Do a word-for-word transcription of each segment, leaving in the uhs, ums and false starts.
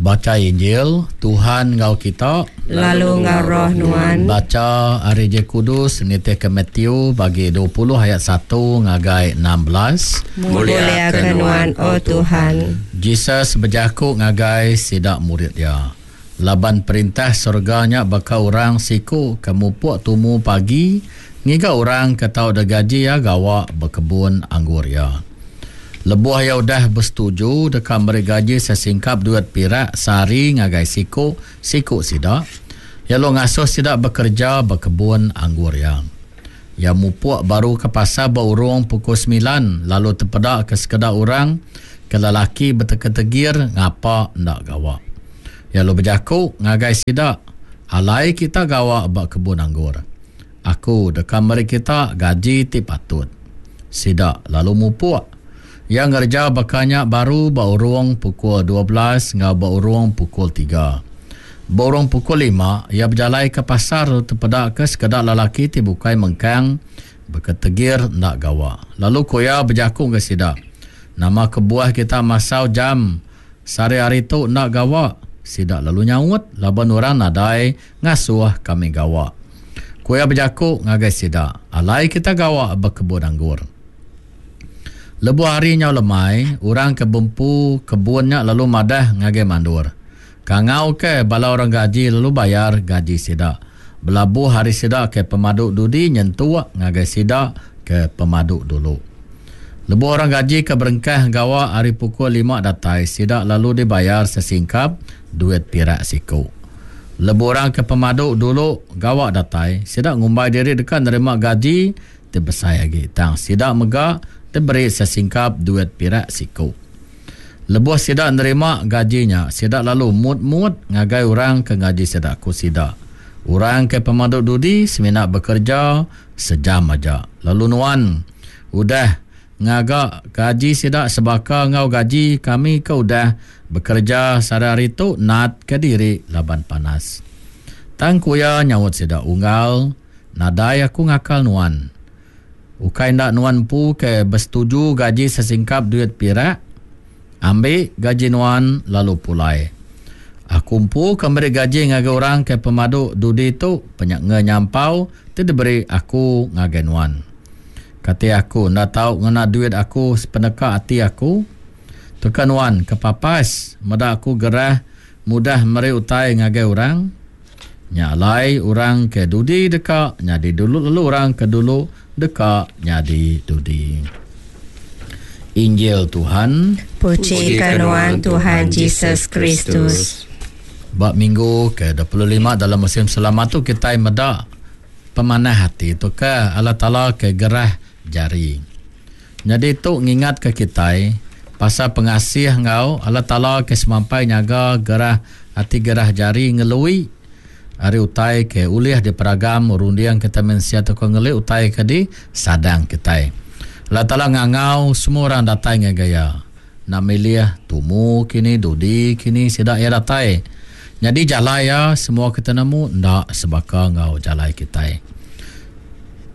Baca Injil, Tuhan enggau kita, lalu enggau roh nuan. Baca ari Injil Kudus nitihka Matthew bagi dua puluh ayat satu ngagai enam belas. Mulia ke nuan, O Tuhan. Jesus bejaku ngagai sida murid dia. Laban perintah surga nya baka orang siku ke mupuk tumu pagi ngiga orang ke tau digaji iya gawa bekebun anggur iya. Lebuh iya udah bersetuju deka meri gaji sesingkap duit pirak sehari ngagai siku-siku sida, iya lalu ngasuh sida bekerja bekebun anggur iya. Iya mupuk baru ke pasar berurung pukul sembilan lalu tepeda ke sekeda orang ke lelaki betegir-tegir ngapa enda gawa. Iya lalu bejaku ngagai sida, alai kita gawa ba kebun anggur. Aku deka meri kita gaji ti patut. Sida lalu mupuk. Ia ngerja bakanya baru berurung pukul dua belas enggau berurung pukul tiga. Berurung pukul lima, ia berjalai ke pasar lalu tepeda ke sekeda lelaki ti bukai mengkang beketegir ndak gawa. Lalu ku ia bejaku ke sida, nama kebuah kita masau jam sehari-hari tu ndak gawa? Sida lalu nyaut, laban orang nadai ngasuh kami gawa. Ku ia bejaku ngagai sida, alai kita gawa bekebun anggur. Lebuh hari nyau lemai, orang ke bempu kebun nya lalu madah ngagai mandur. Kangau ke bala orang gaji lalu bayar gaji sida. Belabuh hari sida ke pemadu dudi nyentuk ngagai sida ke pemadu dulu. Lebuh orang gaji ke berengkah gawa hari pukul lima datai, sida lalu dibayar sesingkap duit pirak siku. Lebuh orang ke pemadu dulu gawa datai, sida ngumbai diri deka nerima gaji ti besai agi. Tang sida mega diberi sesingkap duit pirak siku. Lebuh sida nerima gajinya, sida lalu mut-mut ngagai orang ke ngaji sida ku sida. Orang ke pemadu dudi semina bekerja sejam aja. Lalu nuan udah ngaga gaji sida sebaka enggau gaji kami ke udah bekerja sehari-hari tu nat ke diri laban panas. Tang ku iya nyaut sida, unggal, nadai aku ngakal nuan. Ukai ndak nuan empu ke bersetuju gaji sesingkap duit pirak? Ambil gaji nuan lalu pulai. Aku empu ke meri gaji ngagai orang ke pemadu dudi tu penyak nyampau ti diberi aku ngagai nuan. Kati aku ndak tau ngena duit aku sepeneka ati aku? Teka nuan ke papas meda aku gerah mudah meri utai ngagai orang. Nya alai orang ke dudi deka nyadi dulu lalu orang ke dulu deka nyadi dudi. Injil Tuhan. Puji ke nuan Tuhan Jesus Kristus. Ba minggu ke dua puluh lima dalam musim selamat tu kita meda pemanah hati tu ke Allah Taala ke gerah jari. Jadi tu ngingat ke kita pasal pengasih ngau Allah Taala ke semampai nyaga gerah hati gerah jari ngelui ari utai ke ulih diperagam runding kita mensia tu ke ngeli utai ke di sadang kita. Allah Taala ngangau semua orang datai ngagai iya. Nak milih tumu kini dudi kini sida iya datai. Jadi jalai ya semua kita nemu ndak sebaka ngau jalai kita.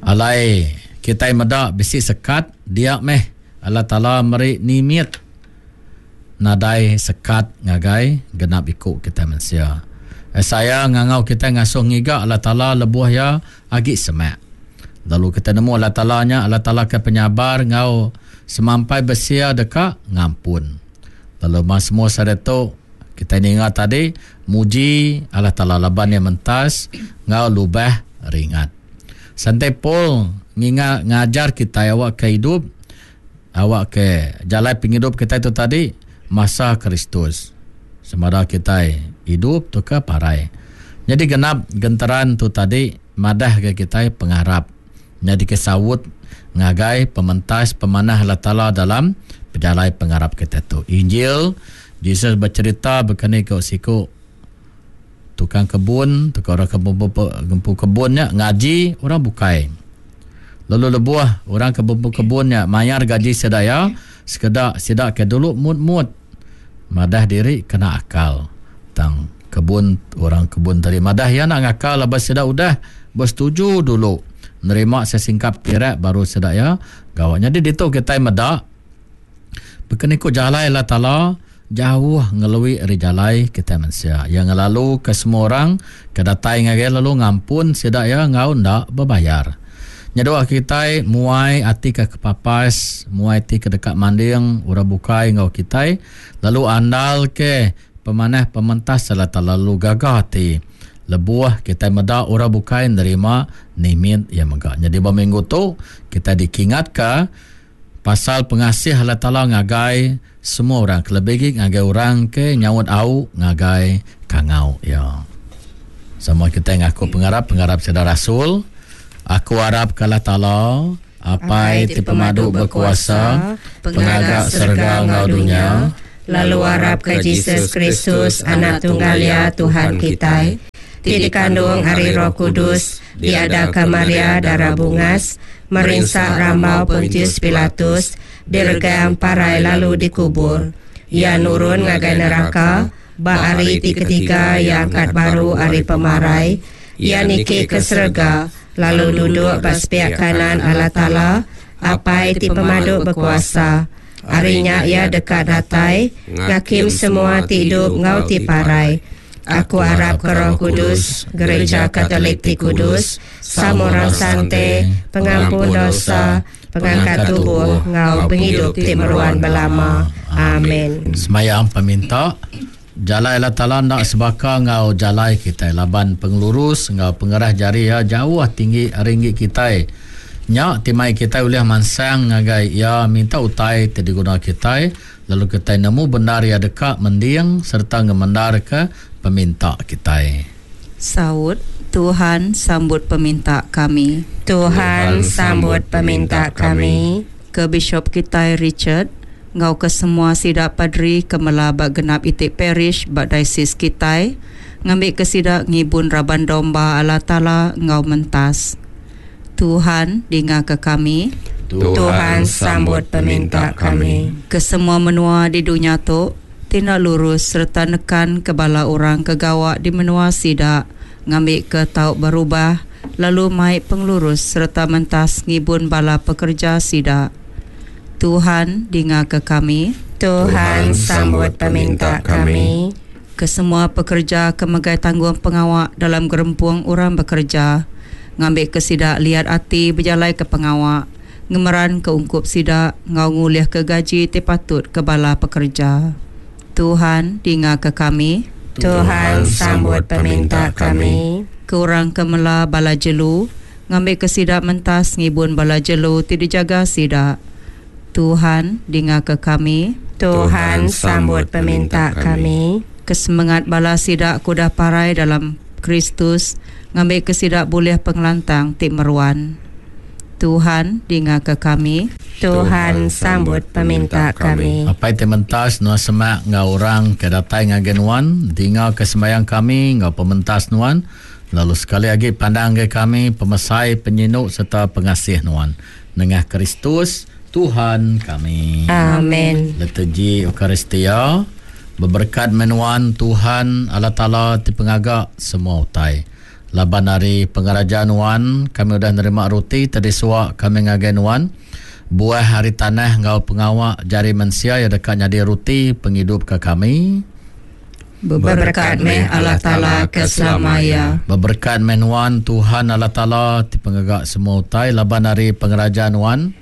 Alai kita meda bisi sekat dia meh Allah Taala meri nimit nadai sekat ngagai genap iku kita mensia. Saya ngangau kita ngasuh ngiga Allah Taala lebuh ya agi semak. Lalu kita nemu Allah Taala nya Allah Taala ke penyabar ngau semampai besia deka ngampun. Lalu mas semua sareto kita ninga tadi muji Allah Taala laban yang mentas ngau lubah ringat. Santai Paul nginga ngajar kita awak ke hidup awak ke jalan penghidup kita itu tadi masa Kristus. Semara kita hidup tu ke parai. Jadi genap genteran tu tadi madah ke kita pengarap. Jadi kesawut ngagai pementas pemanah Allah Taala dalam pejalai pengarap kita tu. Injil Jesus bercerita berkenai ke siku tukang kebun, tukang orang kebun, gempu kebunnya ngaji orang bukai. Lalu lebuh orang kebun kebunnya mayar gaji sedaya sekedak sidak ke dulu mut-mut madah diri kena akal. Tang kebun orang kebun tadi madah ya nak ngakal lepas sidak udah bersetuju dulu nerima sesingkap pirak baru sidak ya gawaknya. Jadi ditu kita medak berkenai ku jalai Allah Taala jauh ngelui ari jalai kita mensia. Yang ngelalu ke semua orang ke datai ngagai lalu ngampun sida ya ngau ndak berbayar. Nyedua kita muai ati ke kepapas, muai ati ke dekat manding orang bukai ngau kita, lalu andal ke pemanah pementas serta lalu gagah hati. Lebuh kita meda orang bukai nerima nimit ya mega. Jadi ba minggu tu kita dikingat ke pasal pengasih Allah Taala ngagai semua orang, kelebih ngagai orang ke nyaut au ngagai kangau ya. Sama kita ngaku pengarap pengarap saudara Rasul. Aku harap ke Allah Taala Apai ti pemadu berkuasa, pengaga serga ngau dunia, lalu harap ke Jesus Kristus anak tunggal ya Tuhan kita, ti dikandung ari Roh Kudus, diadaka Maria darah bungas, merinsa rambau Pontius Pilatus, diregang parai lalu dikubur. Ia nurun ngagai neraka, ba hari ti ketiga ia angkat baru ari pemarai, ia niki ke serga, lalu duduk ba sepiak kanan Allah Taala, Apai ti pemadu berkuasa. Harinya ia dekat datai, ngakim semua ti hidup ngau ti parai. Aku harap ke Roh Kudus, Gereja Katolik ti Kudus, sama orang sante, pengampun dosa, pengangkat tubuh, ngau penghidup ti meruan belama. Amin. Semayang peminta, jalai Allah Taala nak sebaka ngau jalai kita, laban pengelurus ngau pengerah jari ya jauh tinggi ringgi kita. Nya timai kita ulih mansang ngagai ya minta utai ti diguna kita, lalu kita nemu benar ya dekat mending serta ngemendar ke peminta kita. Saut, Tuhan sambut peminta kami. Tuhan sambut peminta kami. Ke Bishop kita Richard, ngau ke semua sidak padri ke melabak genap itik parish bak diocese kita, ngambil ke sidak ngibun raban domba Allah Taala ngau mentas. Tuhan dengar ke kami. Tuhan sambut peminta kami. Ke semua menua di dunia tu tindak lurus serta nekan ke bala orang ke gawak di menua sidak, ngambil ke tau berubah lalu mai pengelurus serta mentas ngibun bala pekerja sidak. Tuhan dengar ke kami. Tuhan sambut peminta kami. Ke semua pekerja ke megai tanggung pengawak dalam gerempung orang bekerja, ngambil ke sidak liat hati berjalai ke pengawak, ngemeran ke ungkup sidak ngau ngulih ke gaji ti patut ke bala pekerja. Tuhan dengar ke kami. Tuhan sambut peminta kami. Ke orang ke mela bala jelu, ngambil ke sidak mentas ngibun bala jelu ti dijaga sidak. Tuhan dengar ke kami. Tuhan sambut peminta kami. Kesemangat bala sidak kudah parai dalam Kristus, ngambil ke sidak boleh pengelantang ti meruan. Tuhan dengar ke kami. Tuhan sambut peminta kami. Apai ti mentas nuan semak ngau orang ke datai ngagai nuan, dengar ke sembahyang kami ngau pementas nuan, lalu sekali lagi pandang ke kami pemesai penyinuk serta pengasih nuan. Nengah Kristus Tuhan kami. Amin. Liturgi Eucharistia berberkat menuan Tuhan Allah Taala ti pengaga semua utai. Laban hari pengeraja nuan kami udah nerima roti tadi suak kami ngagai nuan. Buah hari tanah ngau pengawak jari mensia yang dekat nyadi roti penghidup ke kami. Berberkat meh Allah Taala ke selamanya. Berberkat meh nuan Tuhan Allah Taala ti pengaga semua utai. Laban hari pengeraja nuan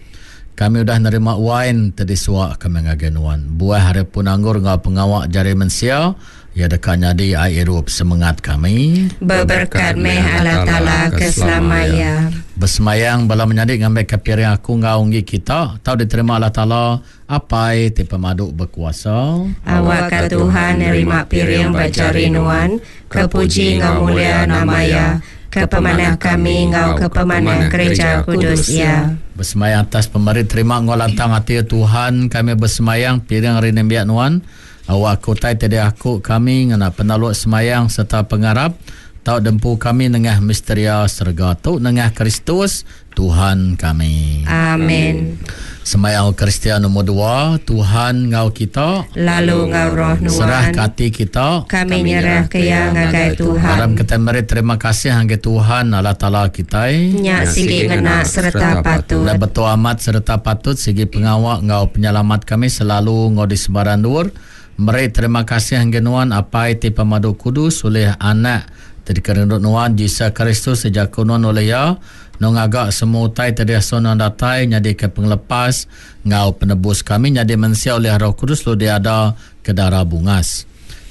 kami udah nerima wain tadi suak kami ngagai nuan. Buah hari pun anggur ngau pengawak jari mensia ya dekat nyadi air hidup semangat kami. Berberkat meh Allah Taala ke selamanya. Bersemayang bala menyadik ngambil ke piring aku ngau unggi kita tau diterima Allah Taala Apai ti pemadu berkuasa. Awak ke Tuhan nerima piring bajari nuan, kepuji ngau mulia nama ya, ke pemanah kami ngau ke pemanah gereja kudus ya. Bersemayang atas pemeri terima ngau lantang hati Tuhan kami bersemayang piring hari nembiak nuan. Awak kutai tiada aku kami ngena penaluk semayang serta pengarap tau dempu kami nengah misteria serga tu nengah Kristus Tuhan kami. Amin. Semayang Kristian nombor dua, Tuhan ngau kita lalu ngau roh nuan. Serah ke hati kita, kami nyerah ke yang ngagai Tuhan. Dalam kita meri terima kasih hanggai Tuhan Allah Taala kita. Nya sigi ngena serta patut. Dan betul amat serta patut sigi pengawak ngau penyelamat kami selalu ngau di sebaran dur. Meri terima kasih ngagai Nuan Apai ti pemadu kudus ulih Anak ti dikerindu Nuan Jesus Kristus ti jaku Nuan ulih Iya Nuan ngaga semua utai ti diasuh Nuan datai nyadika pengelepas enggau penebus kami nyadi mensia ulih Roh Kudus lalu diada ke dara bungas.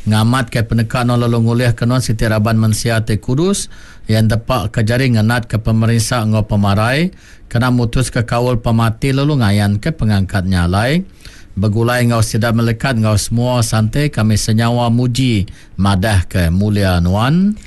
Ngamatka peneka Nuan lalu ngulihka Nuan siti raban mensia ti kudus iya entepaka jari ngenatka pemerinsa enggau pemarai kena mutuska kaul pemati lalu ngayanka pengangkat nya alai begulai enggau sida melekat enggau semua sante kami senyawa muji madahka mulia Nuan.